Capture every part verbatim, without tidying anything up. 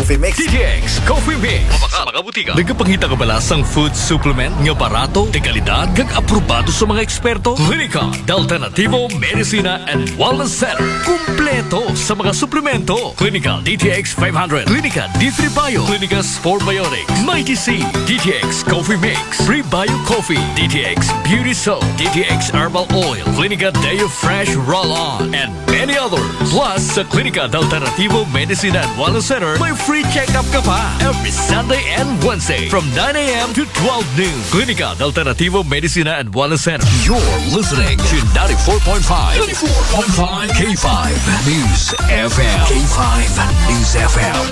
Coffee Mix. D T X Coffee Mix. Sa mga butika. Nagapangita ka ba sang food supplement nga barato, de kalidad, kag aprobado sa mga eksperto? Klinika de Alternativo Medicina and Wellness Center. Kumpleto sa mga suplemento. Klinika D T X five hundred, Klinika D three Bio, Klinika Sport Biotics, Mighty C, D T X Coffee Mix, Prebio Coffee, D T X Beauty Soap, D T X Herbal Oil, Klinika Deo Fresh Roll-On, and many others. Plus, sa Klinika de Alternativo Medicina and Wellness Center, may free check-up ka pa every Sunday and Wednesday from nine a.m. to twelve noon. Klinika de Alternativo Medicina and Wellness Center. You're listening to ninety-four point five, ninety-four point five K five News F M. K five News F M.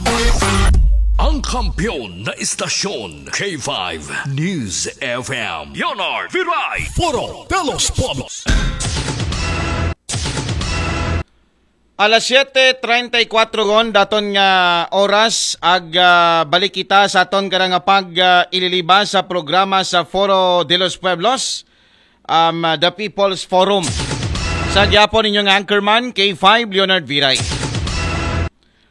Ang kampiyon na istasyon, K five News F M. Leonard Viray. Foro de los Pueblos. Alas siete treinta y cuatro gon daton nga oras ag ah, balik kita sa aton karang pag ah, ililiba sa programa sa Foro de los Pueblos, um, The People's Forum. Sa gyapon ninyo nga anchorman, K five Leonard Viray.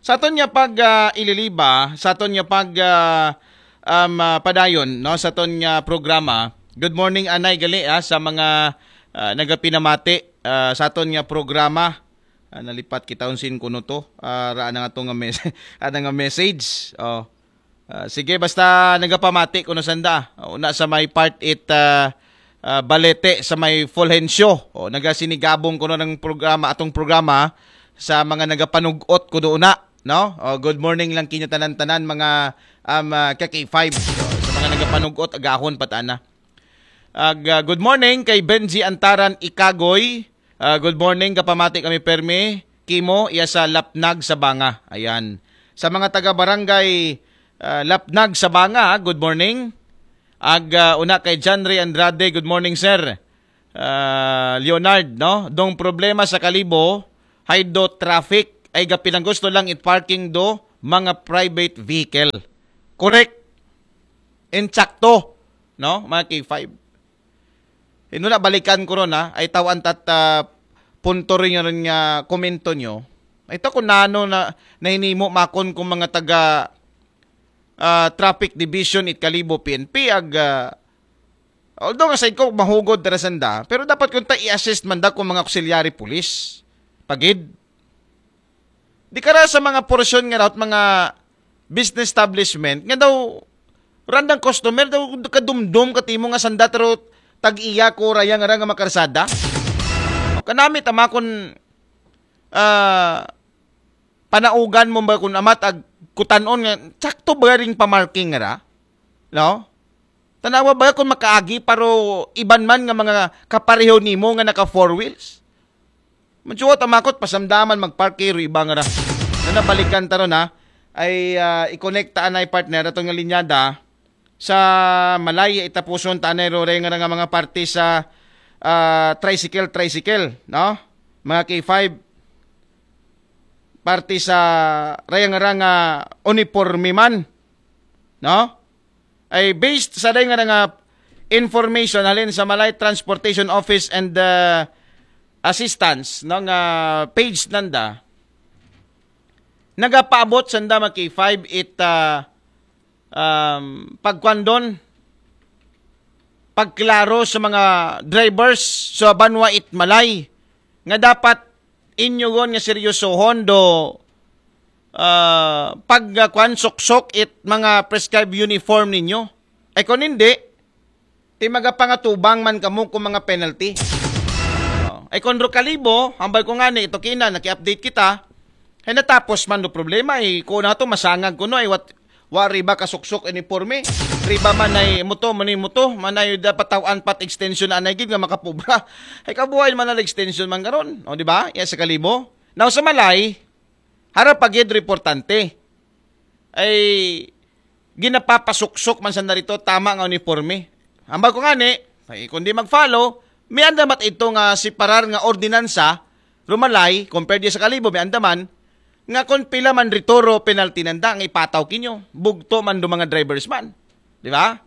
Sa aton nga pag ah, ililiba, sa aton nga pag ah, um, ah, padayon no sa aton nga programa. Good morning anay gali ah, sa mga ah, nagapinamati ah, sa aton nga programa. Ah, nalipat kita unsin kuno to. Ah, ra na nga to nga mes- ana nga message. Oh. Ah, sige basta nagapamati kuno sanda. Una sa may part it ah, ah, Balete sa may Fulgencio. Oh, nagasinigabong kuno ng programa atong programa sa mga nagapanug-ot kuno una, no? Oh, good morning lang kinyo tanan-tanan mga um, ah, ka K five. Oh, sa mga nagapanug-ot agahon patana. Ag, ah, good morning kay Benji Antaran Ikagoy. Ah, good morning, kapamati kami permi. Kimo, iya sa Lapnag sa Banga. Ayan. Sa mga taga barangay ah, Lapnag sa Banga, ah, good morning. Ag ah, una kay John Ray Andrade, good morning sir. Ah, Leonard, no? Dong problema sa Kalibo, hay do traffic, ay gapinang gusto lang it parking do mga private vehicle. Correct. Insakto, no? Mga K five. Ino na balikan ko ron ha, ay tawan tat ah, punto rin yun nga komento nyo. Ay ta kung nano na nahinimo makon kung mga taga ah, traffic division it Kalibo P N P ag ah, although nga sa ko mahugod dara sanda, pero dapat kung ta i-assist man da kung mga auxiliary police. Pagid. Di kara sa mga porsyon nga daw mga business establishment nga daw randang customer daw kadumdum katimo nga sanda taro tag-iya ko raya nga ra nga makarsada. Kanami tama kun ah, panaugan mo ba kun amat ag kutanon nga sakto ba ring pamarking ra? No? Tanawa ba kun makaagi paro iban man nga mga kapareho nimo nga naka four wheels? Mansuot ang makot, pasamdaman magparke ro iba nga ra. Na nabalikan ta ron ha. Ay ah, i-connect ta anay partner ato nga linyada sa Malay itapuson ta anay ro ray nga ra nga mga parte sa ah, tricycle, tricycle, no? Mga K five parte sa ray nga ra nga uniforme man, no? Ay based sa day nga nga information halin sa Malay Transportation Office and uh, Assistance no nga page nanda nagapaabot sanda mga K five it uh, um, pagkwandon pagklaro sa mga drivers sa banwa it Malay nga dapat inyugon nga seryosohon do ah, pagkuan suksok it mga prescribed uniform ninyo. Ay kung hindi, ti magapangatubang man kamo kung mga penalty. Oh. Ay kung Rokalibo, hambal ko nga ni ito kina, naki-update kita, ay natapos man do problema, ay kung na to masangag kuno, ay what, wa riba kasuksok uniforme. Riba man ay muto, mani muto, man ay dapat tawaan pat extension na anay gid nga makapubra. Ay kabuhay man ang extension man karon, o di ba? Iya sa Kalibo. Now sa Malay, harap pa gid reportante. Ay ginapapasuksok man sa narito tama nga uniforme. Ambal ko ngani, ay, kung di mag-follow, may anda mat ito nga separar nga ordinansa, rumalay, compared di sa Kalibo, may anda man, nga kung pila man ritoro penalty nanda nga ipataw kinyo, bugto man do mga drivers man. Di ba?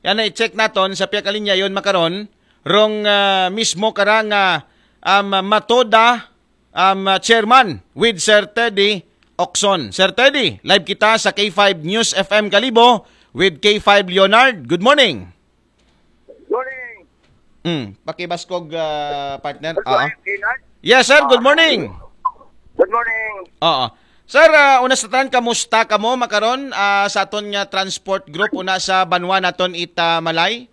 Yan na i-check naton sa piyakalinya yon makaron, rong ah, mismo karang ah, um, Matoda um, ah, chairman with Sir Teddy Okson. Sir Teddy, live kita sa K five News F M Kalibo with K five Leonard. Good morning. Morning. Mm, pakibaskog, ah, partner. Oo. Leonard. Yes, sir. Good morning. Good morning. Oo. Sir, ah, una sa tanan, kamusta kamo makaron, ah, sa aton nga transport group una sa banwa naton it, ah, Malay?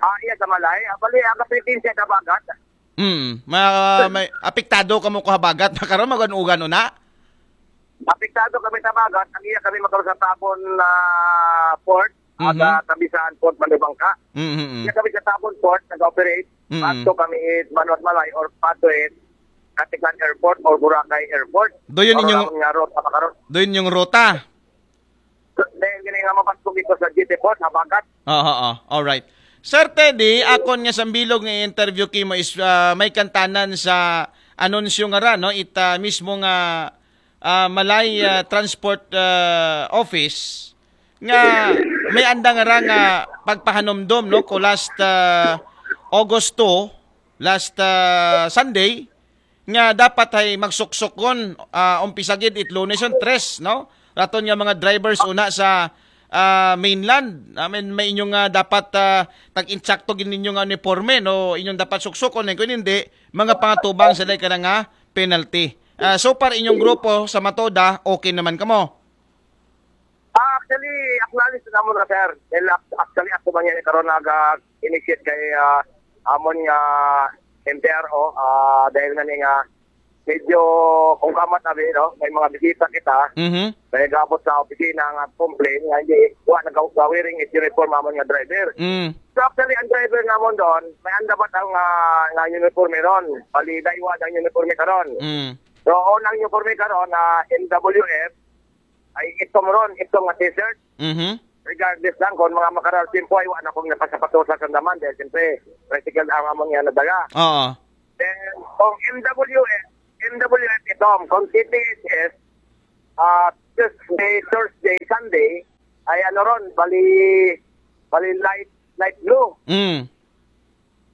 Ah, iya sa Malay. Ah, bali, ang kapilitin siya sa bagat. Hmm, ma may apektado kamo ko habagat makaron, magan-ugan una? Apektado kami sa bagat. Ang iya kami makaroon sa Tabon na port. Mhm. Aga Tabisan Port, Manubangka. Mm. Iya kami sa Tabon Port, nag-operate. Mm. Pato kami it Banwat Malay or pato it Katiklan Airport or Boracay Airport. Do yun Mao inyong- ra nga ruta makaron. Do yun yung ruta. So, dahil gini nga mapasok ito sa G T Port, habagat. Oo, oo. All right. Sir Teddy, akon nga sambilog nga interview kimo is, ah, may kantanan sa anunsyo nga ra, no? It, ah, mismo nga, ah, Malay, ah, Transport, ah, Office nga may anda nga ra nga pagpahanumdom, no? Ko last, ah, August two, last, ah, Sunday, nga dapat ay magsuksukon, ah, umpisa gid it Lunes yon, tres, no? Raton nga mga drivers una sa, ah, mainland. I mean, may inyong, ah, dapat, ah, tag-insakto gid ninyo nga uniforme, no? Inyong dapat suksukon, eh, kung hindi, mga pangatubang sila ka nga penalty. Ah, so far, inyong grupo sa Matoda, okay naman kamo? Ah, actually, acknowledge na mo na, sir. Dahil ac- actually, ako man yan, karon nag-initiate kay ah, amon nga M T R O, ah, dahil na ni nga medyo kung kamat na, no? May mga bisita kita, Mhm. may gabot sa opisina nga complain nga hindi, wa nag-wearing is uniform amon nga driver. Mm. So actually, ang driver namon doon, may anda ba ang ah, nga uniforme ron? Bali, daywa ang uniforme karon. Mm. So, unang uniforme karon na M W F, ay itom ron, itom nga t-shirt. Mhm. Regardless lang kung mga makaral tempo ay wala akong napasapatosa sa daman dahil siyempre, tricycle ang among yan nadala. Oo. Then, kung M W F, M W F itom, kung T T S S, ah, Tuesday, Thursday, Sunday, ay ano ron, bali, bali light, light blue. Mm.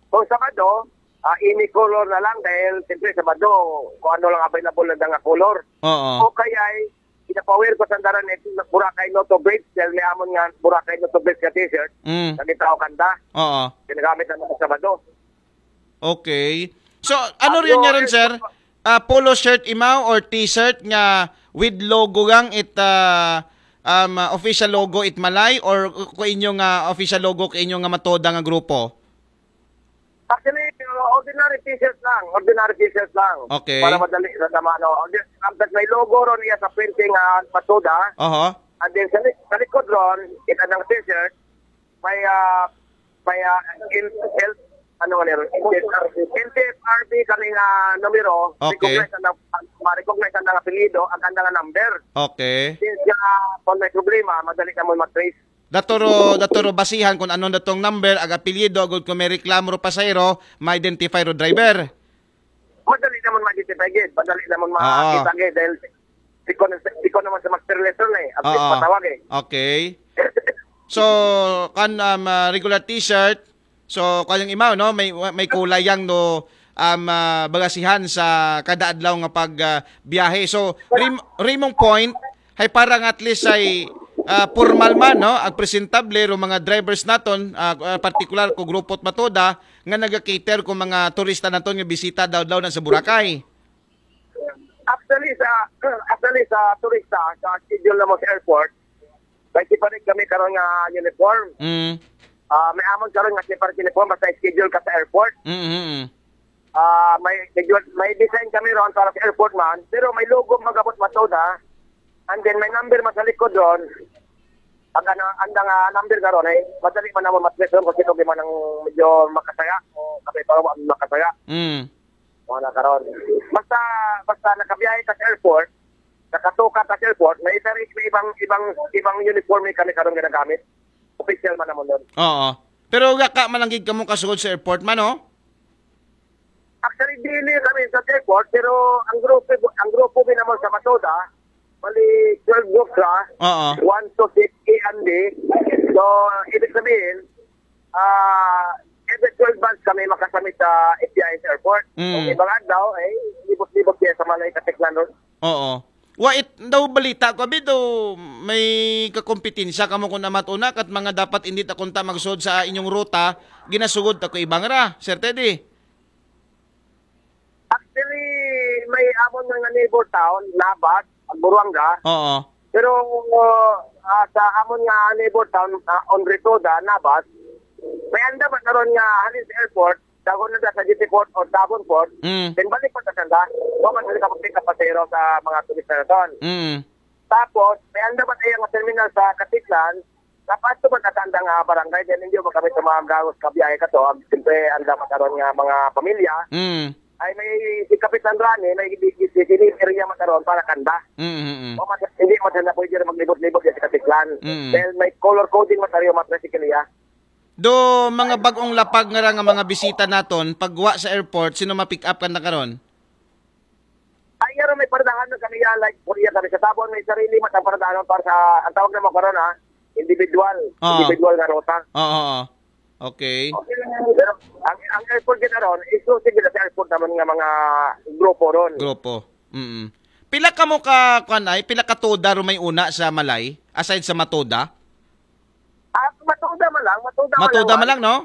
Kung Sabado, ah, any color na lang dahil siyempre Sabado, kung ano lang available na nga color. Oo. O kaya ay, inapower ko sa daran ito, Boracay Noto Bridge, dahil may amon nga Boracay Noto Bridge nga t-shirt, Mm. nagitaw kanta, Oo. ginagamit naman sa Sabado. Okay. So, ano Ano, rin nga rin, eh, sir? Ah, polo shirt imaw or t-shirt nga with logo gang it, ah, um, ah, official logo it Malay or ko inyo nga official logo ko inyo nga Matoda nga grupo? Actually, ordinary t-shirt lang, ordinary t-shirt lang. Okay. Para madali sa tama, no? Ordi- Ang may logo ron iya sa printing nga Matoda. Oho. And then sa, li- sa likod ron, kita ng t-shirt, may, ah, may, ah, in, el, ano nga nero? N T F R B kami nga numero, Okay. recognize ang, ma-recognize ang apelyido, ang kanda nga number. Okay. Since nga, kung may problema, madali na mo mag-trace. Daturo, daturo basihan kung anong datong number, ag apelyido, agud kung may reklamo ro pasahero, ma-identify ro driver. Madali naman ma-identify gid, madali naman Oo. makita gid dahil ikaw, ikaw naman sa master lesson eh, at least Oo. Patawag eh. Okay. So, kan um, ah, regular t-shirt, so kanyang imaw, no, may may kulay yang, no, um, ah, bagasihan sa kada adlaw nga pag ah, biyahe. So, rim, rimong point, hay para nga at least ay ah, formal man, no, ag presentable ro mga drivers naton, ah, ah, partikular ko grupo Matoda nga naga-cater ko mga turista naton nga bisita daw daw na sa Boracay. Actually sa actually sa turista sa schedule na mo sa airport, may separate kami karon nga uniform. Mm. Ah, may amon karon nga separate uniform basta schedule ka sa airport. Mm, mm, mm. Ah, may schedule, may design kami ron para sa airport man, pero may logo magabot Matoda. And then may number man sa likod ron. Ang ano, ang nga number karon ay madali man naman matreson kung sino man ang medyo makasaya o kapay para makasaya. Mm. Mga na karon. Basta basta nakabiyahe ka sa airport, nakatuka ka sa airport, may isa rin, may ibang ibang ibang uniforme kami karon ginagamit. Official man naman doon. Oo. Pero gaka malanggig kamo kasugod sa airport man, no? Actually, dili kami sa airport, pero ang grupo ang grupo mi naman sa Matoda, bali twelve groups ra, Oo. one to six A and B. So, ibig sabihin, ah, every twelve months kami makasamit sa F B I sa airport. Mm. Kung ibang adlaw, eh, libot-libot siya sa Malay Katiklan ron. Oo. Wa it daw balita ko abi daw may kakompetensya kamo kun amat una kat mga dapat indi ta kunta magsud sa inyong ruta, ginasugod ta ko ibang ra, Sir Teddy. Actually, may amon nga neighbor town, Nabat, Buruanga. Oo. Pero ah, sa amon nga neighbor town, ah, on Ritoda, Nabat, may anda ba karon nga halin sa airport, dagon na sa Jetty Port o Davon Port, Mm. then balik pa sa sanda. Wa man sila kapag pasero sa mga turista na ton. Mm. Tapos, may anda ba tayo nga terminal sa Katiklan, tapos to ba sa sanda nga barangay, then hindi mo kami sa mga gawos kabiyahe ka to, ang siyempre anda ba karon nga mga pamilya, Mm. ay may si Kapitan Rani, may di- di- di- di- area makaroon para kanda. Mm. Mm. O mas, hindi mo na pwede rin maglibot-libot sa Katiklan. Mm. Dahil may color coding matario mga tricycle iya. Do mga bag-ong lapag nga ra nga mga bisita naton pagwa sa airport, sino ma-pick up kanta karon? Ay, yaro may paradahan na kami yan, like, Korea kami sa Tabon, may sarili matang paradahan para sa, ang tawag naman karon ha, individual, Oo. individual nga ruta. Oo. Oo. Okay. Pero ang, ang airport gid aron, exclusive gid sa airport naman nga mga grupo ron. Grupo. Mm. Pila kamo ka kuan ay, pila ka toda ro may una sa Malay aside sa Matoda? Ah, Matoda man lang, Matoda, Matoda man lang, no?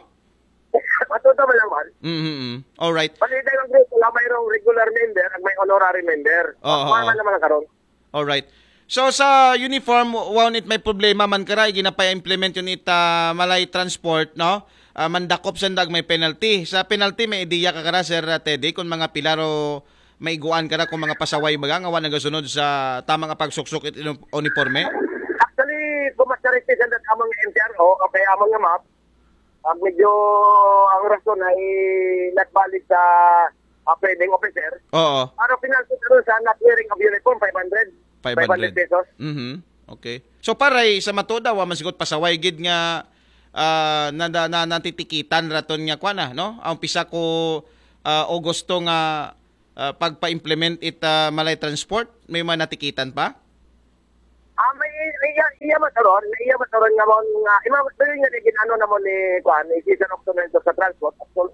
Matoda man lang man. Mm. All right. Paliday lang group, wala mayroong regular member at may honorary member. Oo. Wala naman karon. All right. So sa uniform, wa it may problema man kara, ginapa-implement yun it ah, Malay Transport, no? Ah, mandakop sa ndag may penalty. Sa penalty, may ideya ka kara, Sir ah, Teddy, kung mga pilaro maiguan kara kung mga pasaway baga nga wa nagasunod sa tamang pagsuksok it inu- uniforme? Actually, kung mas characteristic sa among M T R O, okay, among nga map, ang medyo ang rason ay not valid sa uh, pwedeng officer. Oo. Pero penalty karon sa not wearing of uniform, five hundred. 500. Pesos. Mhm. Okay. So paray sa Matoda, wa man siguro pasaway gid nga ah, na, na, na, natitikitan raton nga kuan na, no? Ang pisa ko ah, Agosto nga ah, pagpa-implement it ah, Malay Transport, may mga natikitan pa? Ah, may iya, iya mataron, may iya mataron nga mo nga ima dali nga gid ano na mo ni kuan, ni Cesar Octo Mendoza sa transport. So,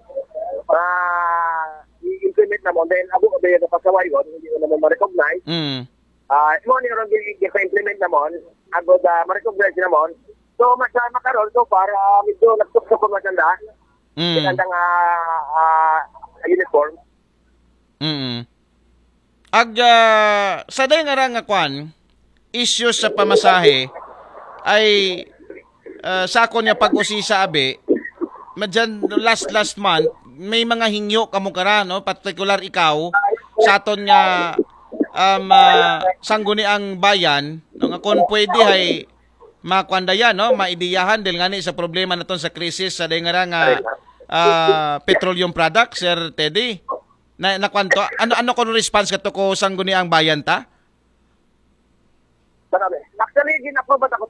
ah, i-implement na mo, then abo ko ba yung pasaway yun, hindi ko naman ma-recognize. Mm. Ah, mo ni ron di di implement na mo, ago da ma-recognize na mo. So mas ah, makaron so para ah, medyo nagtuktok ko maganda. Mm. Maganda nga ah, uniform. Mm. Ag ah, sa day nga ra nga kwan, issues sa pamasahe ay ah, sa akon nga pag-usisa abi, madyan last last month may mga hingyo kamo kara, no, particular ikaw sa aton nga um, ah, sangguniang bayan, no, nga kung pwede ay makuan da yan, no, maidiyahan dahil nga ni sa problema naton sa krisis sa day nga ra nga ah, petroleum products, Sir Teddy. Na, na kwanto? Ano ano ko response kato ko sangguniang bayan ta? Marami. Actually, ginaprobat ako.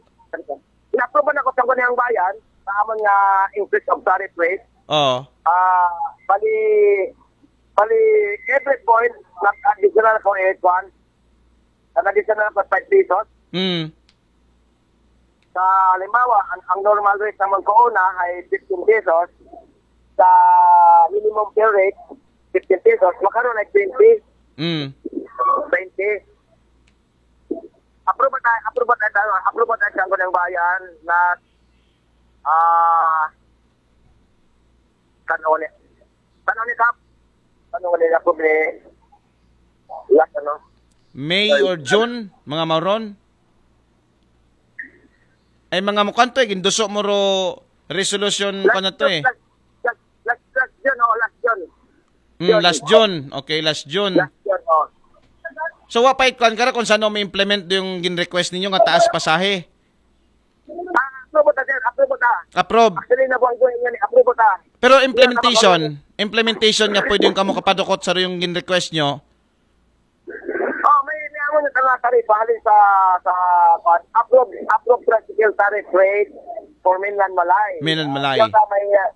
Ginaprobat ako sa Gunayang Bayan, sa amon nga increase of tariff rate. Oh. Ah, bali, bali, every point, nag-additional ko eight one. Nag-additional ko five pesos. Mm. Sa halimbawa, ang, ang normal rate naman ko una ay fifteen pesos. Sa minimum pay rate, fifteen pesos. Makaroon ay twenty. Mm. Twenty. Approve ba tayo? Approve ba tayo? Approve ba tayo sa Gunayang Bayan na ah, tanong ni tanong ni Kap. Tanong ni Kap ni last ano? May or June, mga mauron? Ay mga mo kanto eh, ginduso mo ro resolution ko na to eh. Last, last, last, last June, oh, last June. Mm, last June. Okay, last June. Last June, oh. So wa pa ikwan kara kung saan mo implement yung gin-request ninyo nga taas pasahe. Ah, approve ta, sir. Approve ta. Approve. Actually, nabuang ko nga ni approve ta. Pero implementation, implementation nga pwede yung kamo kapadukot sa yung gin-request nyo. Oh, may may amo na tala taripa halin sa sa kuwan. Approve approve tricycle tariff rate for Mainland Malay. Mainland Malay. Yung sa may uh,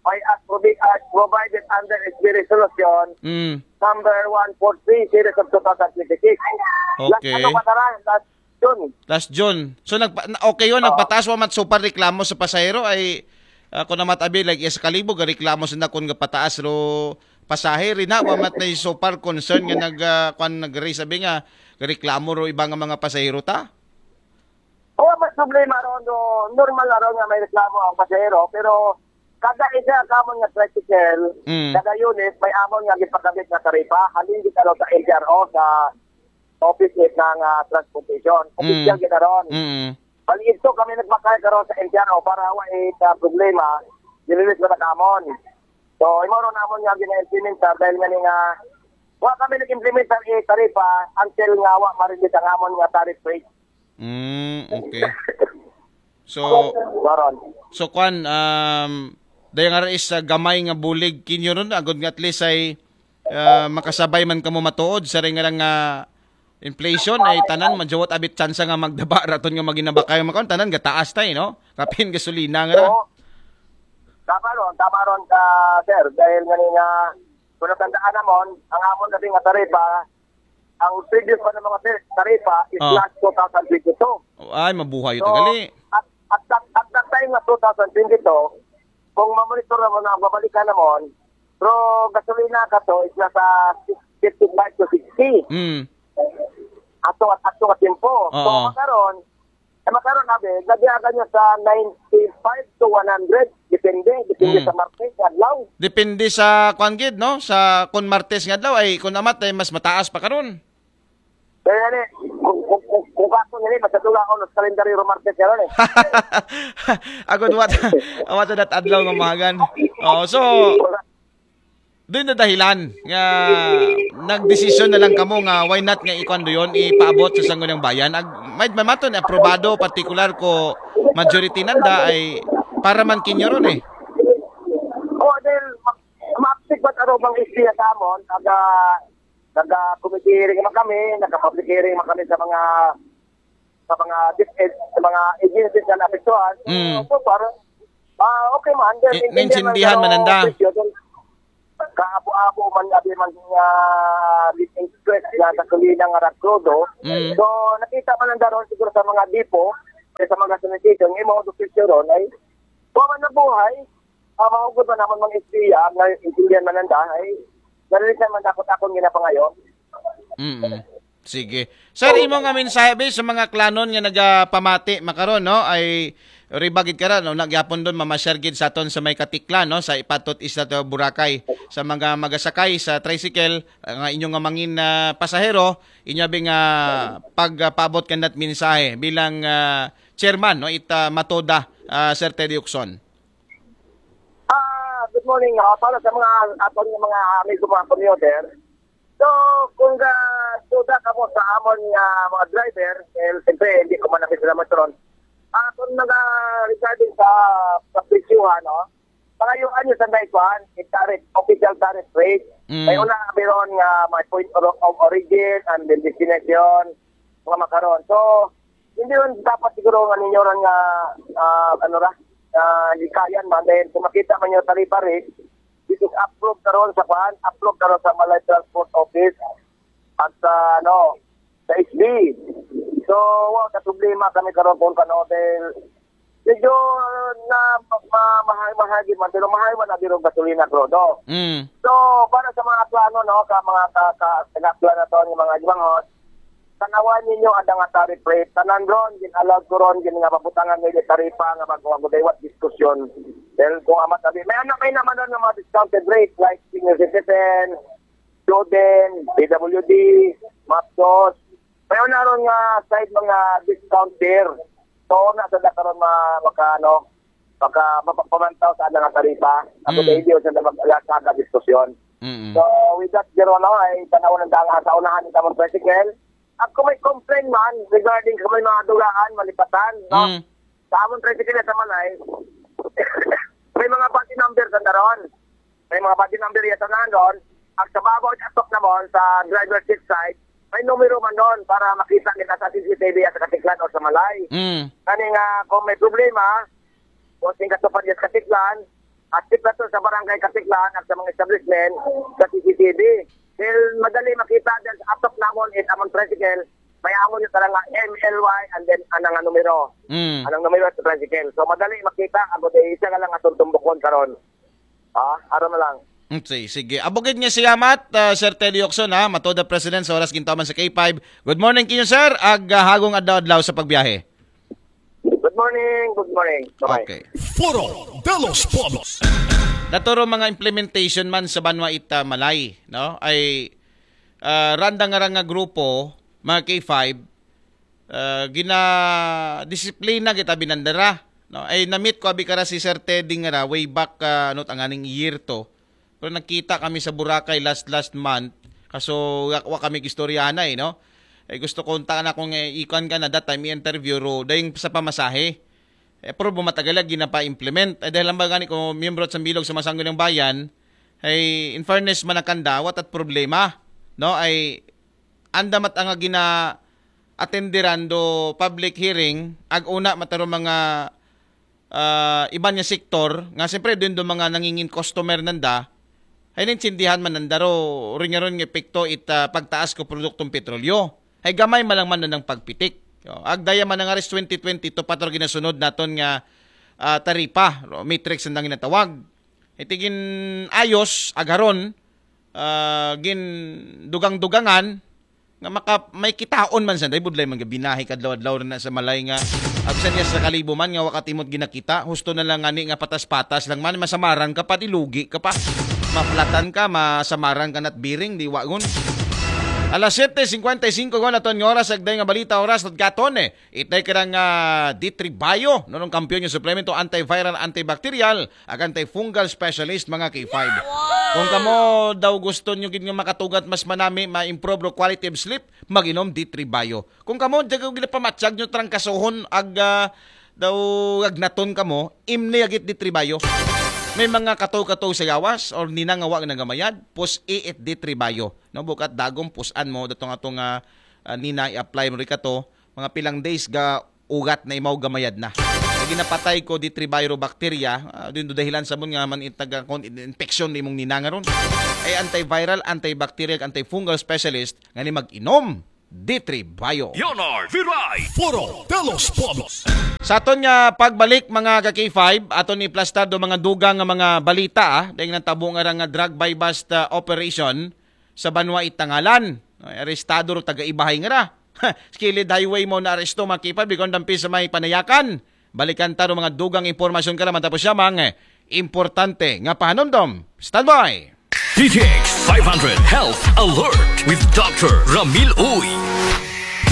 may as provi- as provided under S B resolution Mm. number one four three series of two thousand twenty-six. Last Okay. Ano ba tara? Last June. Last June. So nagpa- na- okay yun, nagpataas wa mat super reklamo sa pasahero ay ako na matabi like sa Kalibog reklamo sa nakon nga pataas ro pasahe rin na wa mat na super concern nga nag ah, kwan nag-raise sabi nga Reklamo ro iba nga mga pasahero ta? Oo, may problema ron, no, normal na ron nga may reklamo ang pasahero, pero kada isa ka mo nga tricycle, Mm. kada unit, may amon nga gipakabit na taripa, halin di sa N T R O, sa office it ng ah, transportation. Official Mm. kita ron. Mm. Bali ito kami nagbakay karon sa N T R O para wa it ah, problema, dililis na kamon. So, imo ron namon nga gina-implementar dahil nga ni nga wa kami nag-implementar i taripa until nga wa ma-release ang amon nga tariff rate. Mm, okay. So, Karon. so kwan, um, dahil nga rin sa gamay nga bulig kinyo ron, agod nga at least ay ah, makasabay man kamo matuod sa ring nga lang nga inflation ay tanan, majuwat abit tsansa nga magdaba raton nga maginabakay makon, tanan gataas tay, no? Kapin gasolina nga ra. Oo. Tama ron, tama ron ka, sir. Dahil nga ni nga, kung natandaan namon, ang amon na nga taripa, ang previous pa ng mga tar- taripa is Oh. last two thousand twenty-two. Ay, mabuhay So, ito gali. at, at, that, at that time nga two thousand twenty-two, kung mamonitor namon na babalikan namon, pero gasolina ka to is nasa fifty-five to sixty. Mm. Ato at ato at tempo. So, Oo. makaron, eh, makaron abi, nabiyagan niya sa ninety-five to one hundred. Depende, depende Mm. sa market, adlaw. Depende sa kwan gid, no? Sa kun Martes nga adlaw ay kun amat ay mas mataas pa karon. Kaya ni, kung, kung, kung, kung kaso nila, masadula ako ng kalendaryo Martes karon eh. Agod what what that adlaw nga mahagan. Oh, so doon na dahilan nga nagdesisyon na lang kamo nga why not nga ikwan doon ipaabot sa Sangguniang Bayan. Ag, may mamato na aprobado partikular ko majority nanda ay para man kinyo ron eh. O, dahil ma- maapsik ba't ano bang istorya sa amon? Naga, naga-committee hearing man kami, naka-public hearing man kami sa mga sa mga dis- sa mga agencies na naapektuhan. Mm. So far, ah, okay man. Then, I- naintindihan man nanda. Kaabo-abo man abi man nga interest na gasolina nga rakrudo. Mm. So, nakita man nanda ron siguro sa mga depot, sa mga sanitation, yung mga official ron ay kuha man na buhay, ah, mahugot man naman mga istorya, na intindihan man nanda, ay nalilisan man ako akong ginapangayon. Mm. Sige. Sir, imo nga mensahe be sa mga klanon nga nagapamati makaron, no? Ay ribagid ka ra, no? Nagyapon doon mamasyar gid sa aton sa may Katiklan, no? Sa ipatot isla to Boracay, sa mga magasakay sa tricycle, ah, nga inyo nga mangin ah, pasahero, inyo abi nga pagpaabot kandat mensahe bilang ah, chairman, no? Ita Matoda, ah, Sir Teddy Ucson. Ah, good morning. Ah, para sa mga aton nga mga amigo mga commuter. So, kung ga suda ka mo sa amon nga mga driver, eh, siyempre, hindi ko man namin sila matron. Ah, kung naga regarding sa sa presyuhan, no? Pangayuan nyo sa may kuan, yung tariff, official tariff rate. Mm. May una biron nga may point of, of origin and then destination, mga makaron. So, hindi rin dapat siguro nga ninyo rin nga ah, ano ra, ah, hikayan man dahil kung makita man yung taripa rate, this is approved karon sa kuan, approved karon sa Malay Transport Office at sa ano, sa S B. So, wa ka problema kami karon kung kano dahil medyo na ma, ma, mahal mahal di man pero mahal man na biro gasolina krodo. Mm. So, para sa mga plano, no, ka mga ka, ka, ka, plano to, yung mga ibanghon, tanawan ninyo ang nga tariff rate. Tanan ron, gin-allow ko ron, gin nga mabutangan nila taripa nga bago ang daywa diskusyon. Dahil kung amat sabi, may anak may naman ron ng mga discounted rate like senior citizen, student, P W D, mapsos. May una ron nga side mga discount there. So, na sa karon ma, maka, ano, maka, mapapamantaw sa nga taripa. Ako Mm. mm. Hindi sa nagkakadiskusyon. Mm. So, with that, Jerome, no, ay tanaw ng danga sa unahan ng tamang tricycle. At kung may complaint man regarding kung may mga dugaan, malipatan, no? Mm. Sa among tricycle sa Malay, may mga body number sa daron. May mga body number yan sa nanon. At sa babaw at atop naman sa driver seat side, may numero man doon para makita kita sa C C T V at sa Katiklan o sa Malay. Mm. Kani nga kung may problema, o sing katupad sa Katiklan, at tip na to sa barangay Katiklan at sa mga establishment sa C C T V. Dahil madali makita dahil sa atop namon is among tricycle, may amon yung tarang M L Y and then anang numero. Mm. Anang numero sa tricycle. So madali makita, ako di isa ka lang atong tumbukon karon. Ah, aram na lang. Mm, si-, sige. Abugid nga siyamat, ah, Sir Teddy Ocson, ha, Matoda President sa Oras Gintaw man sa K five. Good morning kinyo, sir. Ag, ah, hagong adlaw-adlaw sa pagbiyahe. Good morning, good morning. Bye-bye. Okay. Foro de los Pueblos. Naturo mga implementation man sa banwa ita Malay, no? Ay, ah, randa nga ra nga grupo, mga K five, ah, gina-disiplina kita binandara, no? Ay, namit ko abi kara si Sir Teddy nga ra, way back, ah, ano, tanganing year to. Pero nagkita kami sa Boracay last, last month. Kaso, wa, wa kami istoryahan na eh, no? Eh, gusto ko unta na kung, eh, ikan ka na that time, i-interview ro, dahil sa pamasahe. Eh, pero bumatagal lagi na pa-implement. Eh, dahil lang ba gani ko miyembro sa Bilog sa Masanggo ng Bayan, ay, in fairness, manakanda, what at problema, no? Ay, anda mat ang gina-attenderan do public hearing, ag una mataro mga, ah, iban nga sektor, nga siyempre din do mga nangingin customer nanda, ay naintindihan man nanda ro, rin nga ron nga epekto it, ah, pagtaas ko produktong petrolyo. Ay gamay man lang man nang pagpitik. O, agdaya man nga ris twenty twenty-two pa to ginasunod naton nga, ah, taripa, o matrix ang ginatawag. Itigin ayos, agaron, ah, gin dugang-dugangan, nga maka, may kitaon man sa, dahil budlay man gabinahi kadlaw-adlaw na sa Malay nga, absent niya sa kalibo man nga wakatimot ginakita, husto na lang ngani nga patas-patas lang man, masamaran ka pa, dilugi ka pa. Maplatan ka, masamaran ka na't biring, di wagon. Alas siyete cincuenta y cinco ko na ton nga oras, agday nga balita, oras, at gaton eh. Itay ka ng, ah, D three Bio, nunong kampiyon yung suplemento antiviral, antibacterial, ag antifungal specialist, mga K five. Kung kamo daw gusto nyo gid nga makatugat mas manami, ma-improve ro quality of sleep, mag-inom D three Bio. Kung kamo, di ko gid pamatsag nyo trangkasohon, ag, ah, daw agnaton kamo, imni agit D three Bio. May mga kato-kato sa yawas, or nina nga wa nagamayad, pus-i it D three Bio. No, bukat dagong pusan mo, datong atong, ah, ah, nina i-apply mo rin kato, mga pilang days ga ugat na imaw gamayad na. Lagi napatay ko D three Bio bacteria, ah, din do dahilan sa mun nga man itaga kon infection ni mong ninangaron. Ay antiviral, antibacterial, antifungal specialist nga ni mag-inom D three Bio. Leonard Viray. Foro de los Pueblos. Sa aton nga pagbalik, mga ka K five, aton iplastar do mga dugang nga mga balita, ah, dahil nang tabo nga ra nga drug buy-bust, ah, operation sa banwa Itangalan. Ay, arestado ro taga Ibahay nga ra. Skilid highway mo na aresto, mga K five, bikon dampi sa may Panayakan. Balikan ta ro mga dugang impormasyon ka naman tapos siya mga importante nga pahanumdom. Standby! D T X five hundred Health Alert with Doctor Ramil Uy.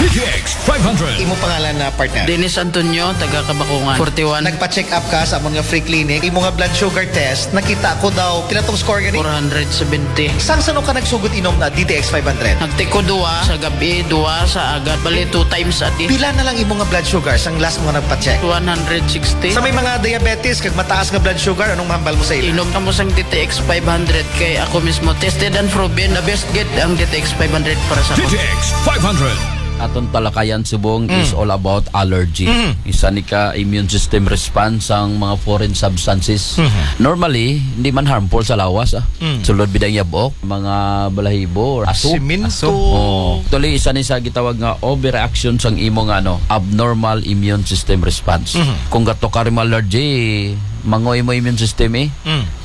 D T X five hundred. Imo pangalan na partner? Dennis Antonio, taga Kabakungan, forty-one. Nagpa-check up ka sa amon nga free clinic. Imo nga blood sugar test, nakita ko daw, pila tong score gani? Four hundred seventy. Sang sano ka nagsugod inom na D T X five hundred? Nagtiko duwa sa gabi, duwa sa agad. Bali, two times a day. Pila na lang imo nga blood sugar sang last mo nga nagpa-check? One hundred sixty. Sa may mga diabetes kag mataas nga blood sugar, anong mahambal mo sa ila? Inom kamo sang D T X five hundred kay ako mismo tested and proven na best gid ang D T X five hundred para sa ako. D T X five hundred. Aton talakayan subong is all about allergy. Isa ni ka immune system response ang mga foreign substances. Normally, hindi man harmful sa lawas, ah. Sulod bidang yabok, mga balahibo, or aso. Simento. Oh. Actually, isa ni sa gitawag nga overreaction sang imo nga ano, abnormal immune system response. Kung gato ka rin allergy, mangoy mo immune system eh.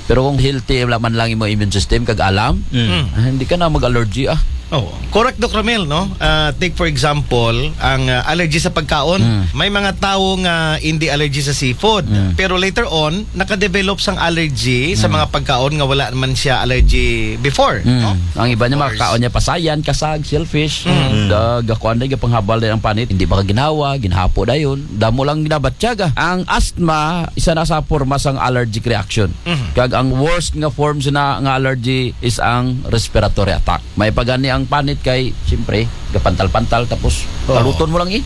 Pero kung healthy wala man lang imo immune system kag alam, ah, hindi ka na mag-allergy ah. Oh, correct, Doc Ramil, no? Ah, take for example, ang ah, allergy sa pagkaon. May mga tawo nga hindi allergy sa seafood, pero later on nakadevelop sang allergy sa mga pagkaon nga wala man siya allergy before, no? Ang iba niya makakaon niya pasayan, kasag, shellfish. Da gakuan da gapanghabal din ang panit, hindi ba ginhawa, ginhapo dayon. Damo lang ginabatyag ah. Ang asthma isa na sa porma sang allergic reaction. Kag ang worst nga form sina nga allergy is ang respiratory attack. May pagani ang panit kay, siyempre, gapantal-pantal tapos kaluton mo lang eh.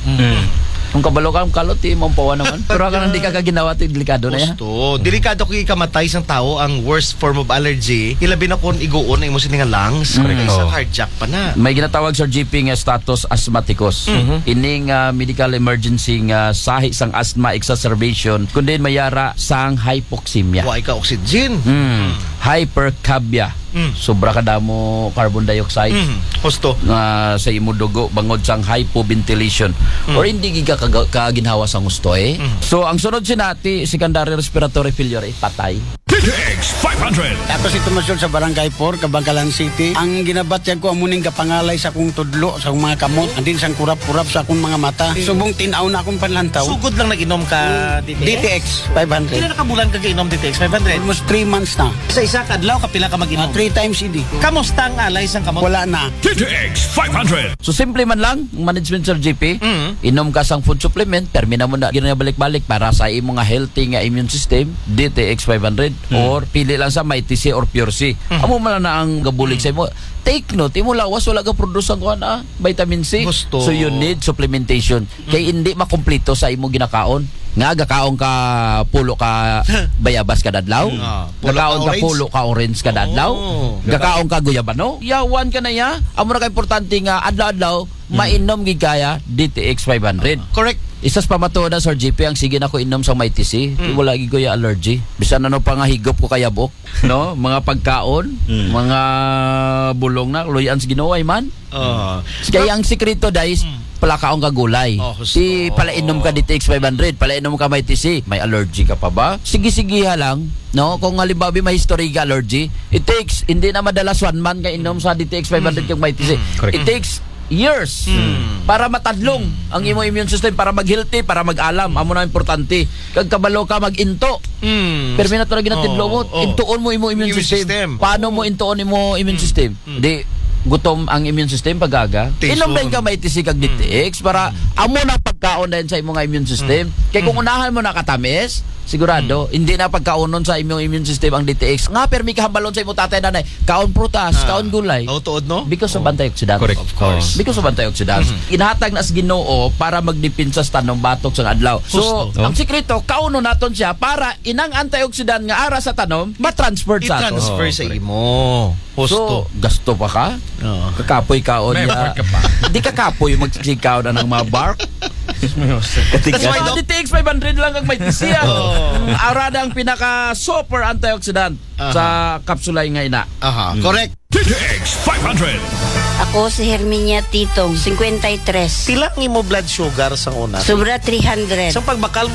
Kung kabalo ka, ang kalot eh, mampawa naman. Pero ka nang di ka kaginawa, ito delikado na yan. Gusto. Delikado kung ikamatay sang tao ang worst form of allergy. Ilabi na kung iguon na imo sini nga lungs. Kay sa cardiac pa na. May ginatawag sa G P nga status asthmaticus. Ining ah, medical emergency nga sahi sang asthma exacerbation, kundi mayara sang hypoxemia. Wa ka oxygen. Hypercapnia. Sobra ka damo carbon dioxide Husto. nga sa imo dugo bangod sang hypoventilation or hindi giga kaga- kaginhawa sang gusto eh. So ang sunod sinati, secondary respiratory failure eh, patay. X five hundred. Ako si Tomas Yod sa Barangay four, Kabankalan City. Ang ginabatyag ko, amo ning gapangalay sa akong tudlo, sa akong mga kamot, andin sang kurap-kurap sa akong mga mata. Subong tinaw na akong panlantaw. Sugod lang nag-inom ka D T X? D T X five hundred. Pila na ka bulan ka kainom D T X five hundred? Almost three months na. Sa isa ka adlaw, kapila ka mag-inom? Ah, three times a day. Kamusta ang alay sang kamot? Wala na. D T X five hundred. So, simple man lang, ang management, Sir G P, Mm. inom ka sang food supplement, termina mo na ginabalik-balik para sa imo nga healthy nga immune system, D T X five hundred, Mm. or pili lang sa Mighty C or Pure C. Mm. Amo man na ang gabulig Mm. sa imo. Take note, imo lawas, wala ka produce ang kuan, ah, vitamin C. Gusto. So, you need supplementation. Kay Mm. hindi makumpleto sa imo ginakaon. Nga, gakaon ka pulo ka bayabas kada adlaw. Mm. Ah, pulo ka Gakaon ka orange. pulo ka orange kada adlaw. Oo. Gakaon ka guyabano. Yawan ka na ya. Amo na ka importante nga adlaw-adlaw, Mm. mainom gid kaya D T X five hundred. Correct. Isas pamatuod na, Sir G P, ang sige na ko inom sa Mighty C. Mm. Wala gid ko ya allergy. Bisan ano pa nga higop ko kayabok, no? Mga pagkaon, Mm. mga bulong na, luyan sa Ginoo ay man. Oo. Kaya ang sikreto, guys, Mm. palakaon ka gulay. Oh, husto. Di palainom ka D T X five hundred, palainom ka Mighty C. May allergy ka pa ba? Sige-sige ha lang, no? Kung halimbawa may history ka allergy, it takes, hindi na madalas one month ka inom sa D T X five hundred Mm. kag Mighty C. Mm. Correct. It takes years Mm. para matadlong Mm. ang imo immune system, para mag-healthy, para mag-alam. Amo na importante. Kag kabalo ka mag-into. Mm. Permi na to na ginatidlo mo. Oo, oo. Intuon mo imo immune Immune system. system. Paano mo intuon imo immune Mm. system? Mm. Di gutom ang immune system pag-aga. Tison. Inom din ka Mighty C kag Mm. D T X para Mm. amo na pagkaon din sa imong immune system. Mm. Kay kung Mm. unahan mo na katamis, sigurado, Mm. hindi na pagkaonon sa imong immune system ang D T X. Nga, permi kahambalon sa imong tatay, nanay, kaon prutas, Ah. kaon gulay. Oh, tuod, no? Because of Oh. antioxidant. Correct. Of course. Because of antioxidants. Mm. Inhatag na sa Ginoo para magdepensa sa tanom batok sa adlaw. So, Husto. ang sikreto, kaunon naton siya para inang antioxidant nga ara sa tanom, matransfer sa ato. I-transfer Oh, sa correct. imo. Husto. So, gasto pa ka? Oo. Kakapoy ka o May niya. effort ka pa. Di kakapoy magsigkaw na ng mga bark. That's why, Doc, D T X five hundred lang ang may tisiya. Oo. Ara na ang pinaka super antioxidant Aha. sa kapsula nga ina. Aha, Hmm. correct. D T X five hundred. Ako si Herminia Titong, fifty-three. Pila ang imo blood sugar sa una? Sobra three hundred. Sa pagbakal